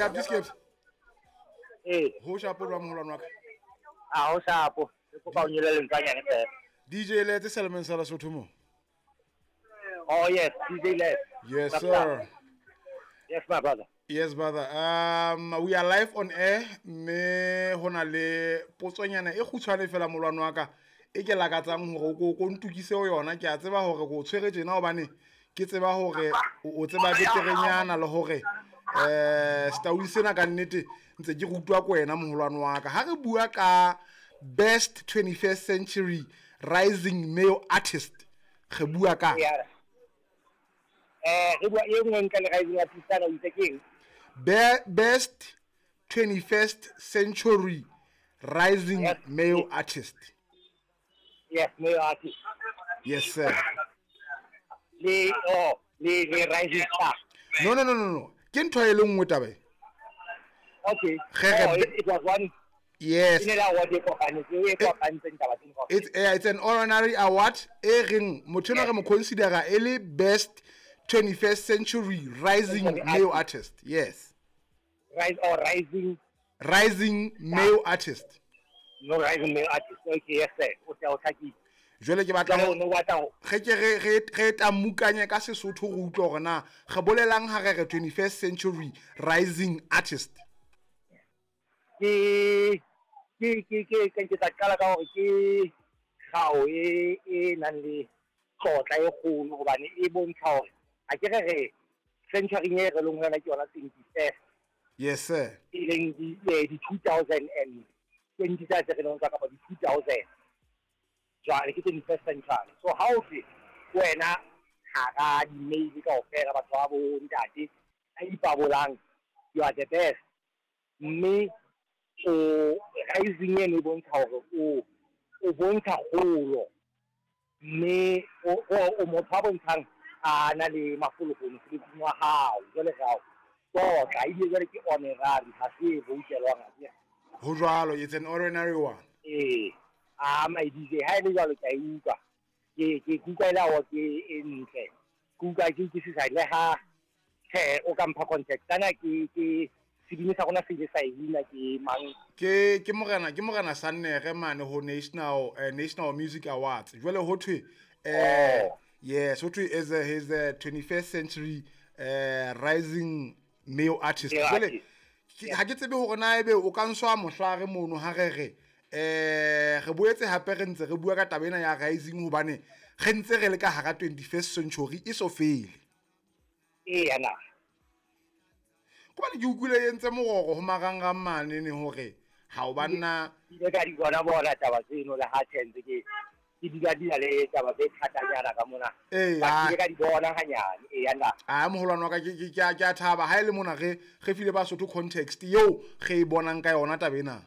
Eh Abdiskeps. Eh. Ho shapo jwa moholwane wa ka. A ho shapo. Ke kopa o nyole lentswanyane fela. DJ Letse Selman sa Lesotho mo. Oh yes, DJ Letse. Yes sir. Yes my brother. Yes brother. We are live on air mme ho na le potsonyana e kgutshwane fela molwane wa ka e ke lakatsang hore o ko ntukise ho yona. Ke a tseba hore ko tshwere tjena hobane ke tseba hore o tseba beterenyana le hore setauli sena ka nnete ntse ke rutwa ko wena moholwane wa ka. Ha re bua ka best 21st century rising male artist re bua ka re bua e nngwe ntle le rising artist ana o itse keng? Best 21st century rising Yes. male artist. Yes, male artist. Yes sir. Le le rising star. No no no no no. Ke ntho e le nngwe taba e. Okay. Ge- Oh, it was one. Yes. E ne le award e kopanetseng, e kopantseng taba tseno kaofela. It's an honorary award e reng motho enwa re mo considera e le best 21st century rising Century male artist. artist. Yes. Rise or rising Rising male artist. No rising male artist. Okay, yes sir. O tla o hlakile. Jwale ke batla Jwale ho o no batla ho ge ke re re re tamukanye ka Sesotho re utlwe hore na re bolelang ha re re 21st century rising artist. Ke ke ke ke ke ke tla qala ka hore ke kgao e e nang le tlotla e kgolo hobane e bontsha hore ha ke re re century e re leng ho yona ke yona 21st. Yes sir. E leng di 2020 tsa tse re leng kapa di 2000. Jwale ke 21st century. So ha o tle wena hara di-mail kaofela batho ba bo ntate a ipabolang, you are the best. Mme o rising eno e bontsha hore o bontsha kgolo, mme o motho a bontshang a na le mafolofolo mosebetsing wa hao. Jwale re ao tlotla, ebile jwale ke honorary, ha se e voutelwang akere. Ho jwalo, it's an honorary one. Ee, a my DJ, ha e le jwalo ke a e utlwa. Ke utlwa e le award e ntle. Ke utlwa ke utlwisisa le ha tjhe o ka mpha contact. Kana ke sebini sa rona se ile sa e wina ke mang? Ke morena, ke morena Sannere mane ho National Music Awards. Jwale ho thwe, Oh. yes, ho thwe is a, he's a 21st century rising male artist. Male Jwale artist. ha ke tsebe hore na ebe o ka nswa mohlare mono ha re re re boetse hape re ntse re bua ka taba ena ya rising hobane re ntse re le ka hara 21st century e so fele. Eya na. Hobane ke utlwile e entse mororo ho marangrang mane ne hore ha o banna Ke ile ka di bona bona taba tseno le ha tjhe ntse ke dula di na le taba tse thatanyana ka mona. Ee, Ba ha. ke ile ka di bona hanyane. Eya na. A moholwane wa ka ke a thaba ha e le mona re file Basotho context eo re e bonang ka yona taba ena.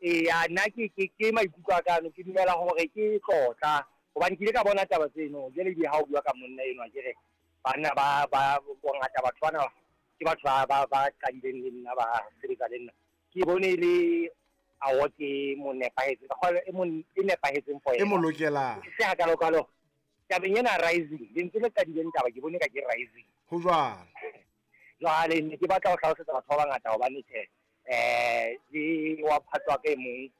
Eya, nna ke maikutlo a ka ano, ke dumela hore ke tlotla hobane ke ile ka bona taba tseno. Jwale ebile ha o bua ka monna enwa ke re banna ba bongata batho bana ke batho ba qadileng le nna, ba sebetsa le nna. Ke bone e le award e mo nepahetseng, ka kgolwa e mo e nepahetseng for E mo yena. lokelang. Se hakalokalo tabeng ena rising, lentswe le qadileng taba ke bone ka ke rising. Ho jwalo. Jwale ne ke batla ho hlalosetsa batho ba bangata hobane tjhe, le wa phatwa ka e mong,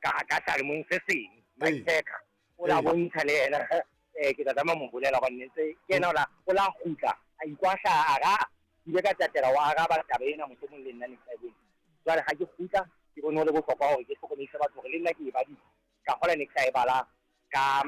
ka selemong se seng, Ee. Mike Tucker, o la Ee. bontsha le yena, ke tla tlameha ho mo bolela hobane ntse ke yena o la kgutla, a ikwahla, a ra, ke ile ka tatela wa araba taba ena mohlomong le nna ne ke sa e bone. Jwale ha ke kgutla, ke bone ho le bohlokwa hore ke hlokomedise batho hore le nna ke e badile. Ka kgola ne ke sa e bala ka